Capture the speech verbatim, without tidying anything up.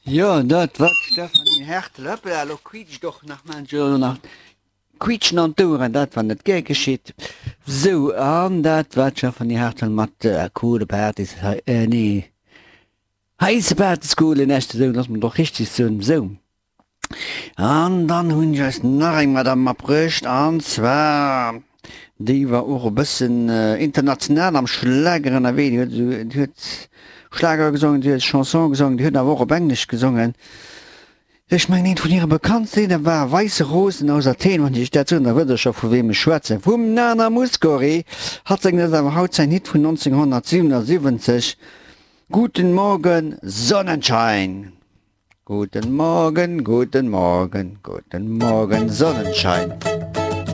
Jo, dat war d'Stéphanie Hertel. Hoppla, elo quiitscht och nach munch elo nach quiitschen an d'Oueren, dat war net gär geschitt. Sou, an dat war d'Stéphanie Hertel mat Coole Partys, nee, Heisse Partys, coole Nächte, sou, looss mer et och richteg soen, sou. An dann hunn ech eis nach eng Madame matbruecht, an zwar, déi war och e bëssen international am Schlager ënnerwee. Déi huet, déi huet Schlager gesongen, déi huet Chanson gesongen, déi huet awer och op Englesch gesongen. Ech mengen, eent vun hire bekanntste Lidder war Weiße Rosen aus Athen. Wann ech dat soen, da wësst der scho vu weem ech schwätzen, vum Nana Mouskouri. Hatt séngt eis awer haut säin Hit vun nonzénghonnertsiwwenundsiwwenzeg, Guten Morgen Sonnenschein. Guten Morgen, guten Morgen, guten Morgen Sonnenschein.